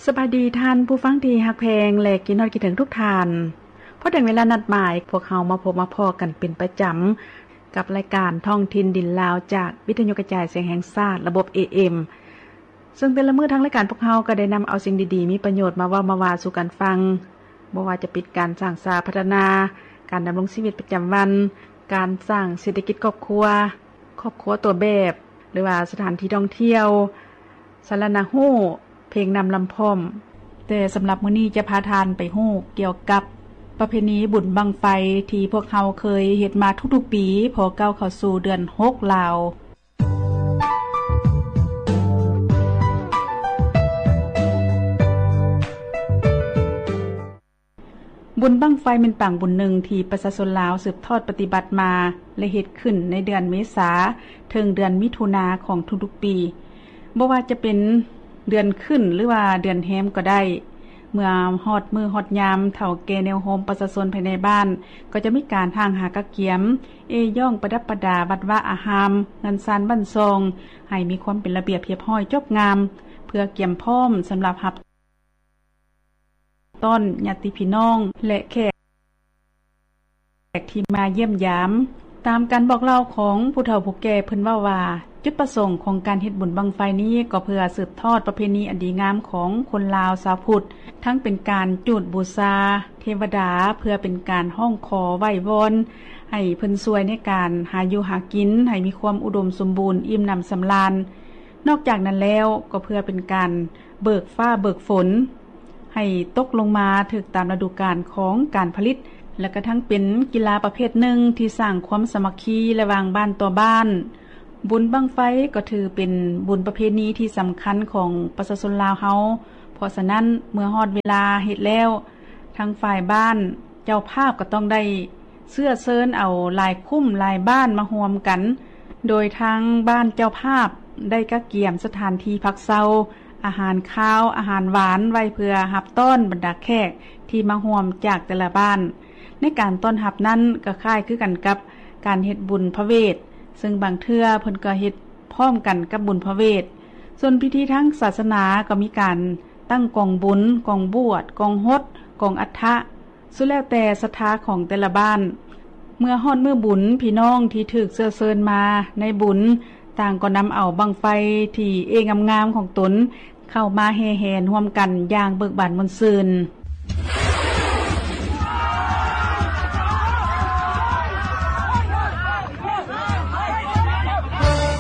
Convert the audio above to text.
ສະບາຍດີທ່ານຜູ້ຟັງທີ່ຮັກແພງ ແລະ ຄິດຮອດຄິດເຖິງທຸກທ່ານ. ພໍເຖິງເວລານັດໝາຍ, ພວກເຮົາມາພົບມາພໍ້ກັນເປັນປະຈຳ ກັບລາຍການທ້ອງຖິ່ນດິນລາວ ຈາກວິທະຍຸກະຈາຍສຽງແຫ່ງຊາດ ລະບົບ ເອເອັມ ເຊິ່ງແຕ່ລະມື້ທາງລາຍການພວກເຮົາກໍໄດ້ນຳເອົາສິ່ງດີໆ ມີປະໂຫຍດມາເວົ້າມາວ່າສູ່ກັນຟັງ, ບໍ່ວ່າຈະເປັນການສ້າງສາພັດທະນາ, ການດຳລົງຊີວິດປະຈຳວັນ, ການສ້າງເສດຖະກິດຄອບຄົວ, ຄອບຄົວຕົວແບບ ຫຼືວ່າສະຖານທີ່ທ່ອງທ່ຽວ, ສາລະນະຮູ້, ເພງນຳລຳພ້ອມ. ແຕ່ສຳລັບມື້ນີ້ຈະພາທ່ານໄປຮູ້ກ່ຽວກັບປະເພນີບຸນບັ້ງໄຟ ທີ່ພວກເຮົາເຄີຍເຮັດມາທຸກໆປີ ພໍກ້າວເຂົ້າສູ່ເດືອນຫົກລາວ. ບຸນບັ້ງໄຟແມ່ນປາງບຸນໜຶ່ງທີ່ປະຊາຊົນລາວສືບທອດປະຕິບັດມາ ແລະ ເຮັດຂຶ້ນໃນເດືອນເມສາ ເຖິງເດືອນມິຖຸນາຂອງທຸກໆປີ. ບໍ່ວ່າຈະເປັນເດືອນຂຶ້ນ ຫຼືວ່າເດືອນແຮມກໍໄດ້, ເມື່ອຮອດມື້ຮອດຍາມ ເຖົ້າແກ່ແນວໂຮມປະຊາຊົນພາຍໃນບ້ານ ກໍຈະມີການຫ້າງຫາກະກຽມ, ເອຍ້ອງປະດັບປະດາວັດວາອາຮາມ, ເຮືອນຊານບ້ານຊ່ອງ ໃຫ້ມີຄວາມເປັນລະບຽບຮຽບຮ້ອຍຈົບງາມ ເພື່ອກຽມພ້ອມສຳລັບຮັບ ຕ້ອນຍາດຕິພີ່ນ້ອງ ແລະ ແຂກທີ່ມາຢ້ຽມຢາມ. ຕາມການບອກເລົ່າຂອງຜູ້ເຖົ້າຜູ້ແກ່ ເພິ່ນເວົ້າວ່າ ຈຸດປະສົງຂອງການເຮັດບຸນບັ້ງໄຟນີ້ ກໍເພື່ອສືບທອດປະເພນີອັນດີງາມຂອງຄົນລາວຊາວພຸດ, ທັງເປັນການຈູດບູຊາເທວະດາ ເພື່ອເປັນການຮ້ອງຂໍໄຫວ້ວອນໃຫ້ເພິ່ນຊ່ວຍໃນການຫາຢູ່ຫາກິນ ໃຫ້ມີຄວາມອຸດົມສົມບູນ, ອີ່ມໜຳສຳລານ. ນອກຈາກນັ້ນແລ້ວ ກໍເພື່ອເປັນການເບີກຟ້າເບີກຝົນ ໃຫ້ຕົກລົງມາຖືກຕາມລະດູການຂອງການຜະລິດ ແລະ ກະທັງເປັນກິລາປະເພດໜຶ່ງທີ່ສ້າງຄວາມສາມັກຄີລະຫວ່າງບ້ານຕໍ່ບ້ານ. ບຸນບັ້ງໄຟກໍຖືເປັນບຸນປະເພນີທີ່ສຳຄັນຂອງປະຊາຊົນລາວເຮົາ, ເພາະສະນັ້ນ ເມື່ອຮອດເວລາເຮັດແລ້ວ, ທາງຝ່າຍບ້ານເຈົ້າພາບກໍຕ້ອງໄດ້ເຊື້ອເຊີນເອົາຫຼາຍຄຸ້ມຫຼາຍບ້ານມາຮ່ວມກັນ, ໂດຍທາງບ້ານເຈົ້າພາບໄດ້ກະກຽມສະຖານທີ່ພັກເຊົາ, ອາຫານຄາວ, ອາຫານຫວານໄວ້ເພື່ອຮັບຕ້ອນບັນດາແຂກທີ່ມາຮ່ວມຈາກແຕ່ລະບ້ານ. ໃນການຕ້ອນຮັບນັ້ນກໍຄ້າຍຄືກັນກັບການເຮັດບຸນພະເວດ, ເຊິ່ງບາງເທື່ອເພິ່ນກໍເຮັດພ້ອມກັນກັບບຸນພະເວດ. ສ່ວນພິທີທາງສາສະໜາກໍມີການຕັ້ງກອງບຸນ, ກອງບວດ, ກອງຫົດ, ກອງອັດຖະ, ສຸດແລ້ວແຕ່ສັດທາຂອງແຕ່ລະບ້ານ. ເມື່ອຮອດມື້ບຸນ, ພີ່ນ້ອງທີ່ຖືກເຊື້ອເຊີນມາໃນບຸນ ຕ່າງກໍນຳເອົາບັ້ງໄຟທີ່ເອງາມໆຂອງຕົນ ເຂົ້າມາແຫ່ແຫນຮ່ວມກັນຢ່າງເບີກບານມ່ວນຊື່ນ.